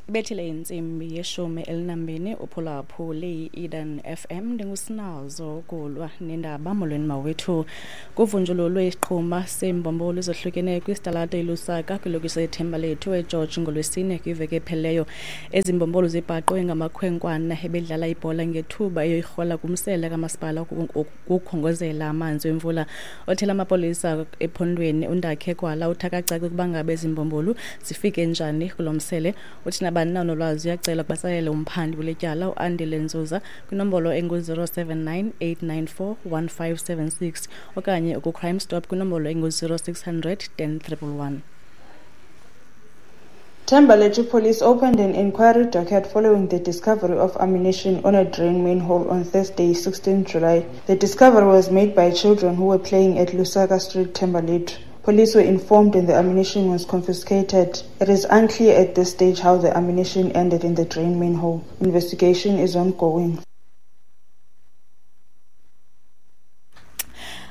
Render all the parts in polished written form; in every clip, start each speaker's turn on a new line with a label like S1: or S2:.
S1: Ibethile intsimbi yeshumi elinambini uphulaphule i-Eden FM. Ndingusinazo kulwa nendaba. Molweni mawethu. Kuvunjululwe isiqhuma seembombolo ezohlukeneyo kwisitalato iLusaka kwilokishi yethemba lethu eGeorge ngoLwesine kwiveki ephelileyo. Ezi mbombolo zibhaqwe ngamakhwenkwana ebedlala ibhola ngethuba eyoyirhola kumsele kamasipala ukukhongozela amanzi wemvula. Othela amapolisa ephondweni uNdakhe Gwala uthi akacaci ukuba ngabe ezi mbombolo zifike njani kulo msele. Uthi nabani na onolwazi uyacela ukuba batsalele umphandi kule tyala uAndile Nzuza kwinombolo engu-079 894 1576 okanye ukuCrime Stop kwinombolo engu-0600 10 111.
S2: Thembalethu Police opened an inquiry docket following the discovery of ammunition on a drain manhole on Thursday, 16 July. The discovery was made by children who were playing at Lusaka Street, Thembalethu. Police were informed and the ammunition was confiscated. It is unclear at this stage how the ammunition ended in the drain manhole. Investigation is ongoing.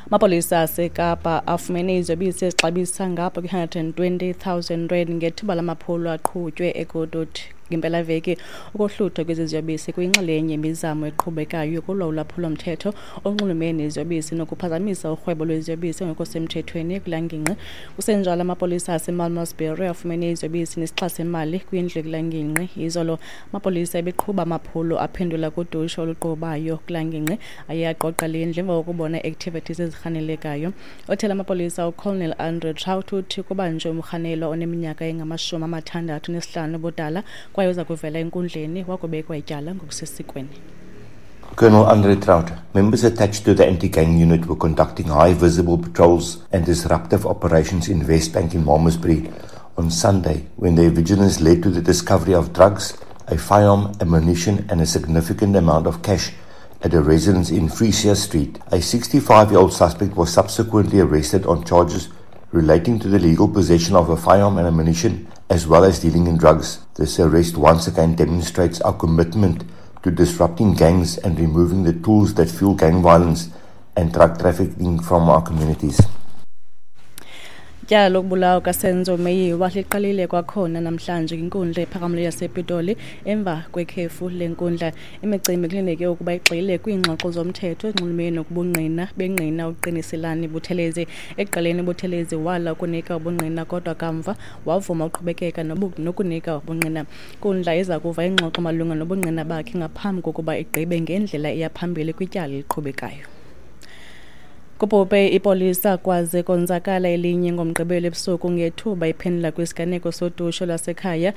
S1: Amapolisa aseKapa afumene iziyobisi ezixabisa ngapha kwi-120 000 rand ngethuba lamaphulo aqhutywe eGoodwood ngempelaveki. Ukohluthwa kwezi ziyobisi kuyinxalenye yemizamo eqhubekayo yokulwa ulwaphulomthetho olunxulumene neziyobisi nokuphazamisa urhwebo lweziyobisi engekho semthethweni kulaa ngingqi. Kusenjalo, amapolisa aseMalmesbury afumene iziyobisi nesixa semali kwindlu kulaa ngingqi izolo. Amapolisa ebeqhuba amaphulo aphendula kudushe oluqhubayo kulaa ngingqi aye aqoqa le ndlu emva kokubona ii-activities ezirhanelekayo. Othela amapolisa uColonel Andre Traut uthi kubanjwe umrhanelwa oneminyaka engama-65 ubudala kwaye uza kuvela enkundleni wakubekwa ityala ngokusesikweni.
S3: Colonel Andre Traut, members attached to the anti-gang unit were conducting high visible patrols and disruptive operations in West Bank in Malmesbury on Sunday when their vigilance led to the discovery of drugs, a firearm, ammunition and a significant amount of cash at a residence in Frisia Street. A 65-year-old suspect was subsequently arrested on charges relating to the legal possession of a firearm and ammunition, as well as dealing in drugs. This arrest once again demonstrates our commitment to disrupting gangs and removing the tools that fuel gang violence and drug trafficking from our communities.
S1: Ityala lokubulawa kaSenzo Meyiwa liqalile kwakhona namhlanje kwinkundla ephakamileyo yasePitoli emva kwekhefu lenkundla. Imicimbi kulindeleke ukuba igxile kwiingxoxo zomthetho ezinxulumene nokubungqina bengqina uQiniselani Buthelezi. Ekuqaleni uButhelezi wala ukunika ubungqina kodwa kamva wavuma ukuqhubekeka nokunika ubungqina. Inkundla iza kuva ingxoxo malunga nobungqina bakhe ngaphambi kokuba igqibe ngendlela eya phambili kwityala eliqhubekayo. Kubhubhe ipolisa kwaze konzakala elinye ngoMgqibelo ebusuku ngethuba iphendula kwisiganeko sodushe lwasekhaya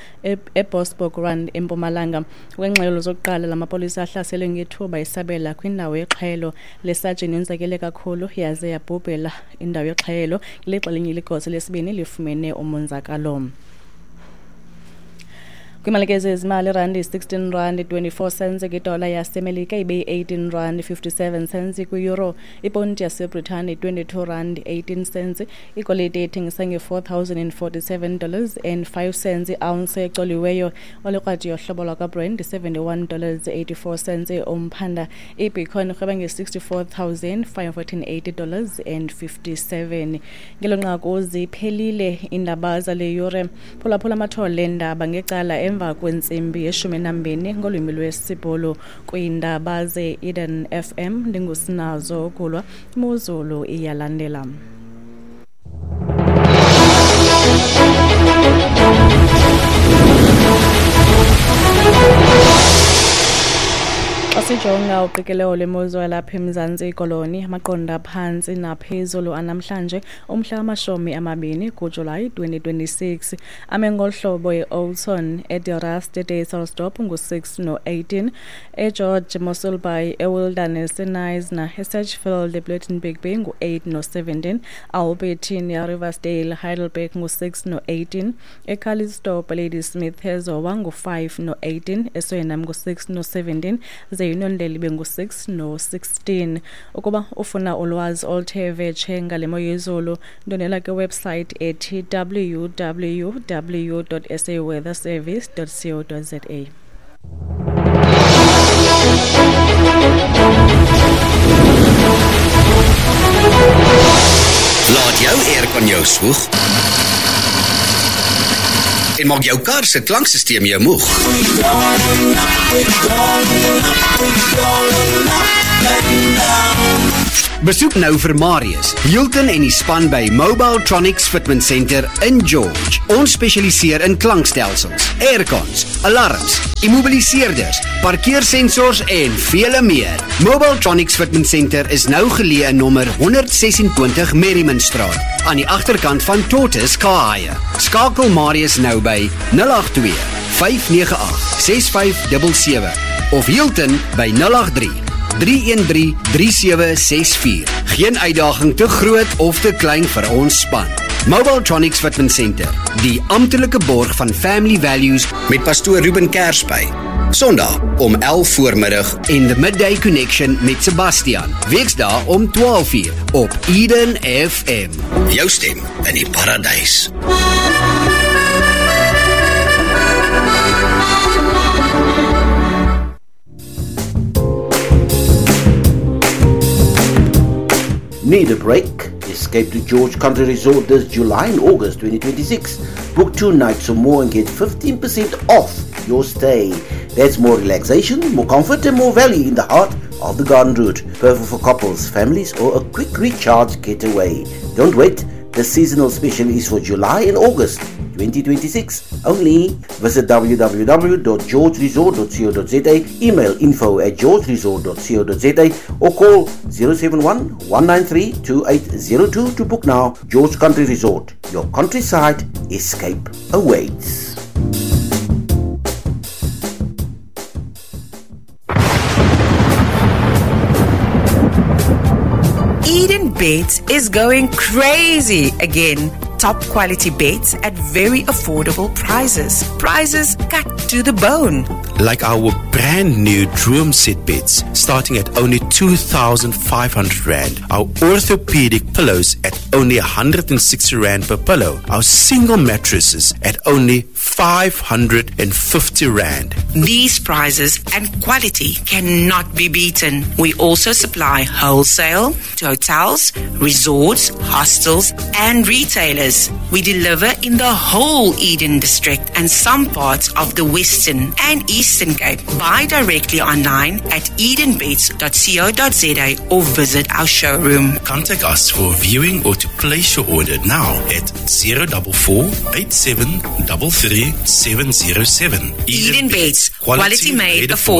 S1: eBosbokrand eMpumalanga. Ngokwengxelo zokuqala, la mapolisa ahlaselwe ngethuba isabela kwindawo yexhwayelo. Le sajini yonzakele kakhulu yaze yabhubhela indawo yexhwayelo ngelixa elinye ligosa lesibini lifumene umonzakalo. Kwimalike zezimali, irandi 16 rand 24 cents kwidola yaseMelika, ibe yi-18 rand 57 cents kwi-euro. Iponti yaseBritane 22 rand 18 cents. Igolide ithengisa nge-$4,047 and 5 cents i-ounce ecoliweyo. Olikrwadi yohlobo lwakwaBrent 71 dollars 84 cents umphanda. IBitcoin irhweba nge-$64,580 and 57. Ngelo nqaku ziphelile iindaba zale yure. Phulaphula amathole eendaba ngecala emva kwentsimbi yeshumi nambini ngolwimi lwesiBhulu kwiindaba ze-Eden FM. Ndingusinazo Kulwa. Imozulu iyalandela. Xa sijonga uqikelelo lwemozulu yalapha eMzantsi Koloni, amaqondo aphantsi naphezulu anamhlanje umhla wama-20 kuJulayi 2026 ame ngolu hlobo: eOudtshoorn, eDe Dysselsdorp ngu-6 no-18, eGeorge, Mossel Bay, eWilderness, eKnysna, eSedgefield, ePlettenberg Bay ngu-8 no-17, Albertina, Riversdale, Heidelberg ngu-6 no-18, eCalitzdorp, Ladysmith, eZowa ngu-5 no-18, eSwellnum ngu-6 no-17, ze Uniondale ibe ngu-6 no-16. Ukuba ufuna ulwazi oluthe vetshe ngale mo yezulu, ndwendwela kwiwebsite ethi www.saweatherservice.co.za.
S4: Laat jou aircon jou swoeg. En maak jou kar se klankstelsel jou moeg?
S5: Besoek nou vir Marius, Hilton en die span by Mobiletronics Fitment Center in George. Ons spesialiseer in klankstelsels, aircons, alarms, immobiliseerders, parkeersensors en vele meer. Mobiletronics Fitment Center is nou geleë in nommer 126 Merriman Straat, aan die agterkant van Tortoise Car Hire. Skakel Marius nou by 082 598 6577 of Hilton by 083 313 3764. Geen uitdaging te groot of te klein vir ons span. Mobiletronics Fitment Center, die amptelike borg van Family Values
S4: met pastoor Ruben Kersby. Sondag om 11 voormiddag
S5: en The Midday Connection met Sebastian. Weksdae om 12:00 op Eden FM.
S4: Jou stem in die paradys.
S6: Need a break? Escape to George Country Resort this July and August 2026. Book 2 nights or more and get 15% off your stay. That's more relaxation, more comfort and more value in the heart of the garden route. Perfect for couples, families or a quick recharge getaway. Don't wait. The seasonal special is for July and August 2026 only. Visit www.georgeresort.co.za, email info@georgeresort.co.za or call 071 193 2802 to book now. George Country Resort, your countryside escape awaits.
S7: Eden Beds is going crazy again. Top quality beds at very affordable prices. Prices cut to the bone.
S8: Like our brand new Droom set beds starting at only 2,500 Rand. Our orthopedic pillows at only 160 Rand per pillow. Our single mattresses at only 550 Rand.
S7: These prices and quality cannot be beaten. We also supply wholesale to hotels, resorts, hostels and retailers. We deliver in the whole Eden district and some parts of the Western and Eastern Cape. Buy directly online at edenbeds.co.za or visit our showroom.
S8: Contact us for viewing or to place your order now at 044 87 33 707.
S7: Eden Beds, quality made affordable.